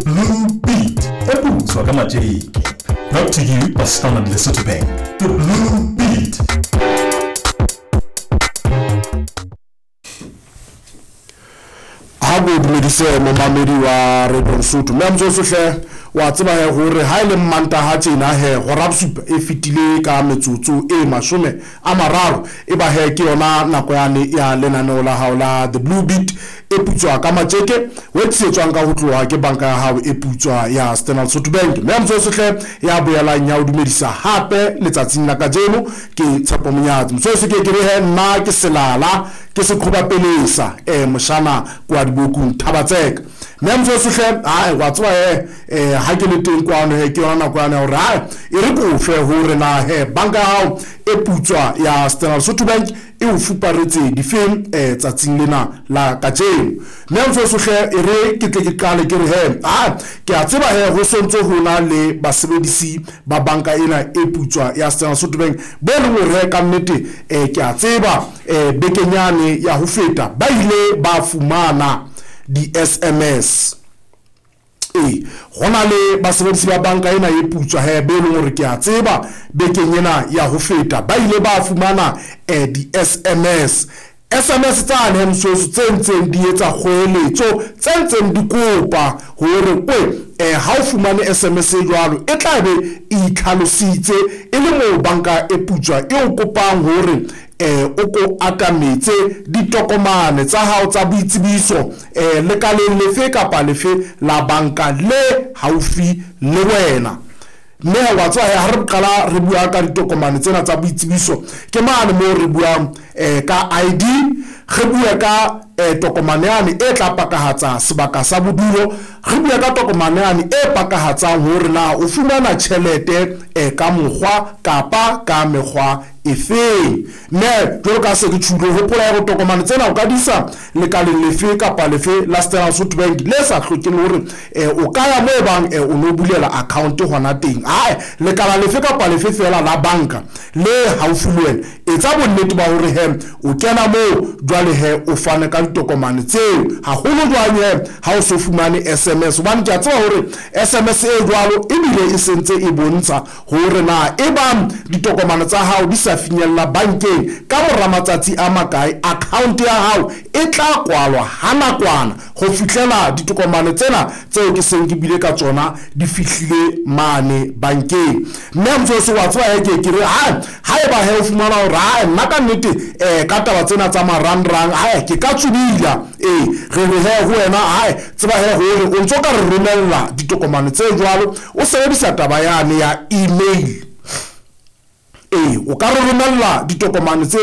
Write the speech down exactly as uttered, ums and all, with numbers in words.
Blue Beat e putswa ka matjeke. Brought to you by Standard Lesotho Bank. The Blue Beat. Ha bo dumedise momamedi wa Radio Lesotho mme motsoso hle wa tseba he hore ha ile Mmantaha tjena he hora bosupa e fetile ka metsotso e mashome a mararo e ba he ke yona nako yane ya lenaneo la hao la The Blue Beat e putswa ka matjeke o tlisetswang ka ho tloha ke banka ya hao e putswa ya Standard Lesotho Bank. Mme motsoso hle ya boelang ya o dumedisa hape letsatsing la kajeno ke Tshepo Monyatsi. Motsoso ke ke re he nna ke selala ke seqhoba pelesa eh moshana kwa dibokung Thabatseka. Mme motsoso hle ha wa tswa he eh ha ke le teng kwano he ke yona nako yana hore ha e re kofe hore na he banka ya hao e putswa ya Standard Lesotho Bank e o fuparetse difeng eh tsatsing lena la kajeno. Mme motsoso hle e re ke tle ke qale ke re he ha ke a tseba he ho sontso ho na le basebedisi ba banka ena e putswa ya Standard Lesotho Bank bo leng hore ka nnete eh ke a tseba eh bekenyane ya ho feta ba ile ba fumana di S M S. E hona le basebedisi ba banka ena e putswa he be leng hore ke a tseba bekeng ena ya ho feta ba ile ba fumana eh di S M S. S M S tsane msoso tse ntseng di etsa kgoeletso tse ntseng di kopa hore kwe eh ha o fumane S M S e jwalo e tla be e itlhalositse e le moo banka e putswa e o kopang hore eh o ko atametse ditokomane tsa hao tsa boitsebiso eh lekaleng lefe kapa lefe la banka le haufi le wena. Mme wa tswa ha re qala re bua ka ditokomane tsena tsa boitsebiso ke mane mo re buang eh ka I D, re bua ka eh tokomane yane e tla pakahatsa sebaka sa bodulo, re bua ka tokomane yane e pakahatsang hore na o fumana tjhelete eh ka mokgwa kapa ka mekgwa efeng. Mme jwalo ka se ke tjhulo hopola hore tokomane tsena o ka di isa lekaleng lefe kapa lefe la Standard Lesotho Bank le sa hlokeng hore eh o ka ya moo bang eh o no bulela account hona teng. Ae lekala lefe kapa lefe fela la banka le haufi le wena etsa bonnete ba hore he o kena moo jwale he o fane ka ditokomane tseo haholo jwang he ha o so fumane S M S, hobane ke a tseba hore S M S e jwalo ebile e sentse e bontsha hore na e bang ditokomane tsa hao di sa finyella bankeng ka mora matsatsi a makae account ya hao e tla kwalwa ha nakwana ho fihlela ditokomane tsena tseo ke seng ke bile ka tsona di fihlile mane bankeng. Mme motsoso wa tseba he ke ke re ha haeba he o fumana hore ha nna ka nnete eh ka taba tsena tsa marangrang ha ke ka tsubila eh re re he ho wena ha tseba he hore o ntso ka re romella ditokomane tse jwalo o sebedisa taba yane ya email. E o ka re romella ditokomane tse